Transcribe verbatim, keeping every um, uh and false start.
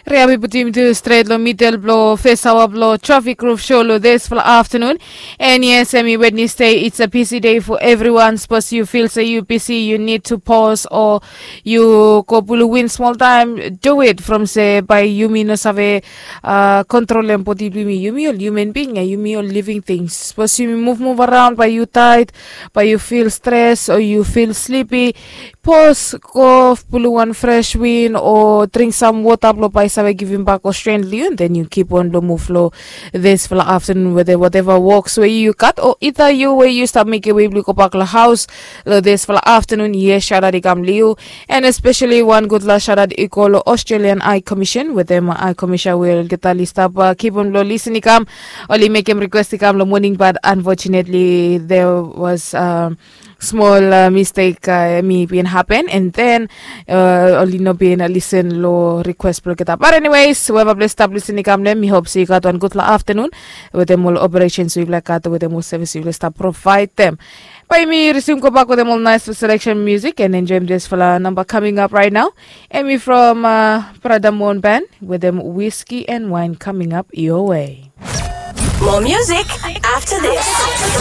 Ria mi putim tu stret long midel blong fes aoa blong trafik ruf sho long disfala aftanun. And yes, em i Wednesday, it's a busy day for everyone. Sapos yu fil se yu bisi, yu nid tu pos o yu go pulu win smol taem, do it from se bae yumi no save kontrolem bodi blong yumi. Yumi ol human being ya, yumi ol living things. Sapos yumi muvmuv araon bae yu taed, bae yu fil stres o yu fil slipi, pos, go pulu wan fres win o dring sam wota blong bae save givimbak ol stren long yu, den yu kip on blong muv long disfala aftanun wetem woteva woks we yu gat o ida yu we yu stap mekem wei blong yu gobak long haos long disfala aftanun. Yes, shaotaot i kam long yu. And espeseli wan gudfala shaotaot i go long Australian High Commission wetem High Commission we olgeta oli stap kip on blong lisin i kam. Oli mekem rikwes i kam long moning, bat unfortunately there was smol mistek, em i bin hapen, and then oli no bin lisin long rikwes blong olgeta. Bat anyways, weva ples stap lisin i kam long em, mi hop se yu gat wan gudfala aftanun wetem ol operesens we yufala gat, wetem ol sevis we yufala stap provaedem. Bae yumi risum gobak wetem ol naes seleksen musik and enjoem disfala namba kaming ap raet nao. Em i from Brada Mon Band wetem Whisky and Wine kaming ap your way. More music after this.